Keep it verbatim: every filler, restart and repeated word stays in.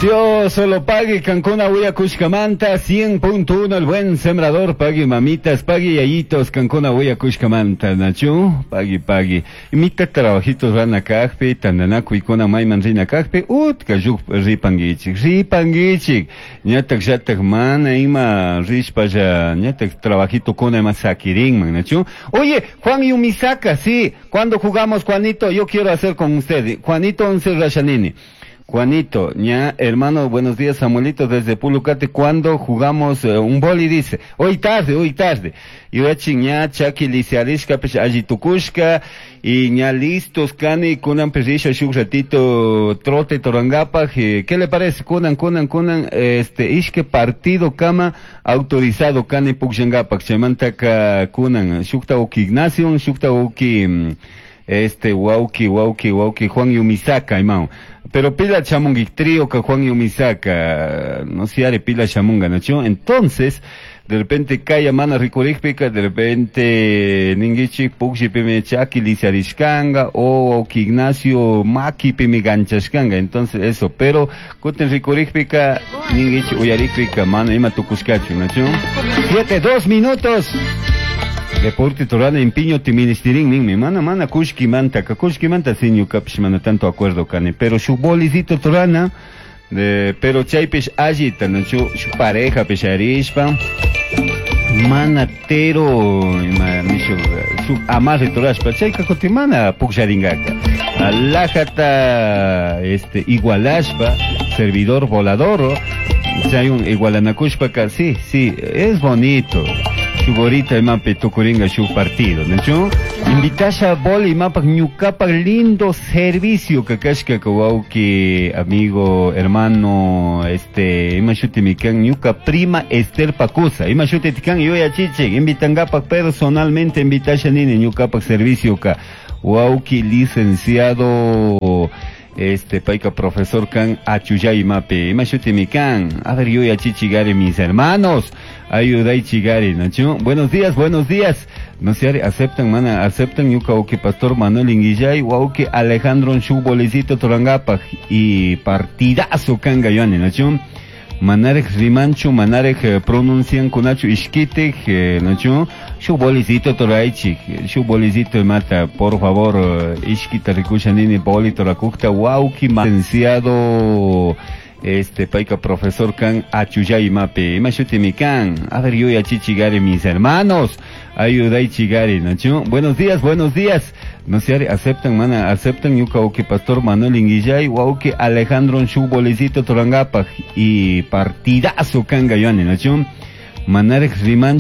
Dios solo pague Cancuna Huyacushcamanta cien punto uno, El Buen Sembrador. Pagui mamitas, pagui yayitos, kankuna willakushkamanta, nachu, pagui, pagui. Imita trabajitos rana kajpi, tandanakuykuna mayman rina kajpi, utka lluk ripanguichik, ripanguichik. Ñatak llatak mana ima rishpalla, ñatak trabajito kuna ima sakirinman, nachu. Oye, Juan Yumisaka, sí, ¿cuándo jugamos, Juanito? Yo quiero hacer con usted. Juanito Once Rashanini. Juanito, ya, hermano, buenos días, Samuelito, desde Pulucate. ¿Cuándo jugamos eh, un boli? Dice, hoy tarde, hoy tarde. Yuyachin ña chaki lisiarishka, pish alli tukushka, y ña listos kani, kunan risha shuk ratito trote turangapaj. eh, ¿qué le parece? Kunan, kunan, kunan, este, ishke partido kama autorizado kani pukllangapaj, chaymantaka kunan, shukta uki Ignacio, shukta uki, mm, este, wauki, wauki, wauki, Juan Yumisaka, imao. Pero pila chamungi trío ka Juan Yumisaka, no sé, are pila chamunga, ¿no? Entonces, de repente kaya mana rikurikpika, de repente ninguichik pukllipimi chaki lisiarishkanga o que Ignacio makipimi ganchashkanga, entonces eso, pero kutin rikurikpika ninguichik uyarikpika mana ima tukushkachu, ¿no? Siete, dos minutos. Deporte turana empeño tiministirin ninmi, mana mana kushkimanta ka kushkimanta si ñukapish mana tanto acuerdo kani, pero shuk bolicito turana de, pero chaypish allita, no, shu shu pareja pisharishpa mana tero ima nishu shuk amarre turashpa chayka kutin mana pukllaringaka alajata este igualashpa servidor volador chay un igualanakushpaka, sí sí es bonito. Shuk horita imapi tukuringa shuk partido, ¿no? Invitasha boli imapak ñukapak lindo servicio kakashka wauki, amigo, hermano, este, ima shutimi kan, ñuka prima Esther Pacusa, ima shuti kan, yuyachichik, invitangapak personalmente invitasha nini ñukapak servicio ka wauki licenciado, este, payka profesor kan Achuyay mapi, ima shutimi kan, a ver, yuyachichigari, mis hermanos, ayudaychigari, ¿no? Buenos días, buenos días. No sé, aceptan, mana, aceptan ñuka wauki pastor Manuel Inguillay, wauki Alejandro shuk bolicito turangapaj y partidazo kanga yoni, ¿no? Manarej rimanchu, manarej eh, pronuncian kunachu ishkitik, eh, ¿no? Shuk bolicito turaychik, shuk bolicito mata, por favor, eh, ishkita rikusha nini boli turakukta, wauki licenciado, este, payka profesor kan Achuyay mapi, ima shutimi kan, a ver, yuyachichigari, mis hermanos, ayudaychigari, ¿no? Buenos días, buenos días. No sé, aceptan, mana, aceptan ñuka wauki pastor Manuel Inguillay, wauki Alejandro shuk bolicito turangapaj y partidazo kanga yoni, ¿no? Manarej rimanchu.